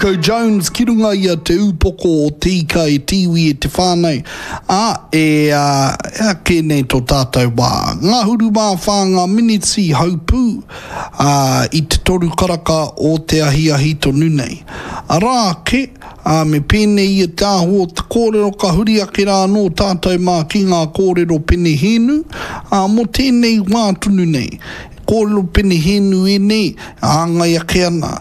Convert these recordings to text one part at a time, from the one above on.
Ko Jones ki runga i a Te Ūpoko o Te Ika e te iwi e te whānau, ā, e ea kē nei tō tātou wā. Ngahuru mā whā ngā miniti haupū, ā, i te toru karaka o te ahiahi tonu nei. Arā ake, ā, me pēnei ia te āhua o te kōrero ka huri ake rā anō tātou mā ki ngā kōrero penehēnu, ā, mō tēnei wā tonu nei. Kōrero penehēnu ēnei e hāngai ake ana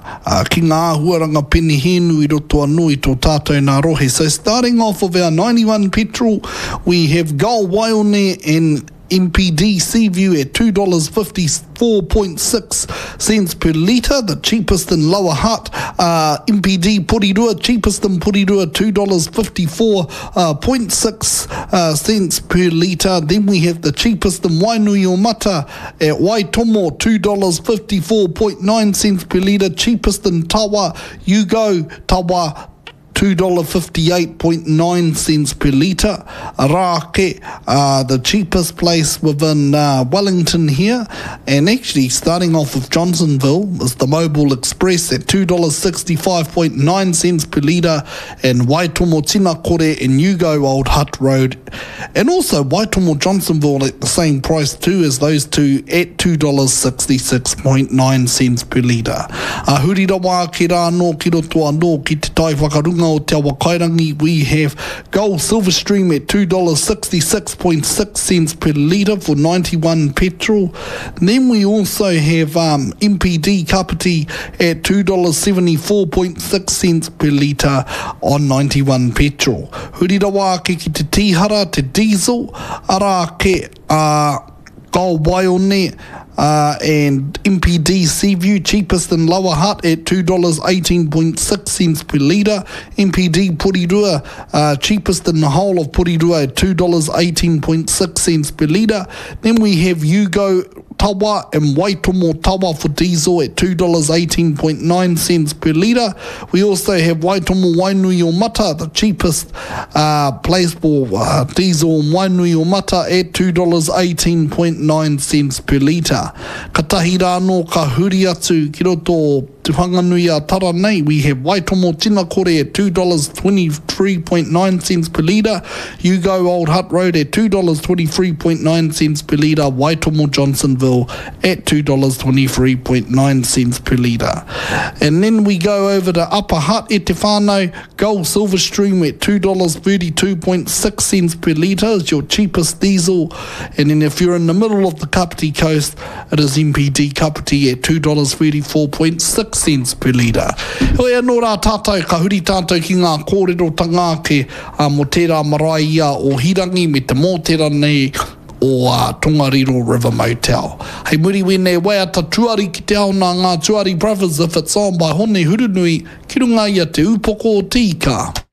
ki ngā āhuaranga penehēnu i roto anō i tō tātou nā rohe. So starting off of our 91 petrol, we have Gull Waione and MPD Seaview at $2.546 cents per litre, the cheapest in Lower Hutt. Uh, MPD Porirua, cheapest in Porirua, $2.546 uh, cents per litre. Then we have the cheapest in Wainuiomata At Waitomo, $2.549 cents per litre, cheapest in Tawa, you go, Tawa, $2.589 cents per litre. Arā ake, uh, the cheapest place within uh, Wellington here, and actually starting off with Johnsonville, is the Mobile Express at $2.659 cents per litre, and Waitomo Tinakore and Ugo Old Hutt Road And also Waitomo Johnsonville at the same price too as those two at $2.669 cents per litre. A huri rawa ake rā anō ki roto anō ki te tai whakarunga o Te Awakairangi we have Gull Silverstream at $2.666 cents per litre for 91 petrol. Then we also have um, MPD Kapiti at $2.746 cents per litre on 91 petrol. Huri rawa ake ki te tīhara, te diesel, arā ake a Gull Waione and MPD Seaview, cheapest in Lower Hutt at $2.186 cents per litre, MPD Porirua, cheapest in the whole of Porirua at $2.186 cents per litre. Then we have Ugo Tawa and Waitomo Tawa for diesel at $2.189 cents per litre. We also have Waitomo Wainui o Mata, the cheapest uh, place for uh, diesel in Wainui o Mata at $2.189 cents per litre. Katahi rā anō ka huri atu ki roto o Te Whanganui a Tara nei, we have Waitomo Tinakore at $2.239 cents per litre, Ugo Old Hutt Road at $2.239 cents per litre, Waitomo Johnsonville at $2.239 cents per litre. And then we go over to Upper Hutt e te whānau, Gull Silverstream at $2.326 cents per litre is your cheapest diesel. And then if you're in the middle of the Kapiti Coast, it is MPD Kapiti at $2.346 cents per litre. Heoi anō rā tātou, ka huri tātou ki ngā kōrerotanga ake mō tērā marae ia o Hirangi me te mōtera nei o Tongariro River Motel. Hei muri wēnei waiata tuari ki te ao nā ngā Tuari Brothers If It's On by Hone Hurunui ki runga i a Te Ūpoko o Te Ika.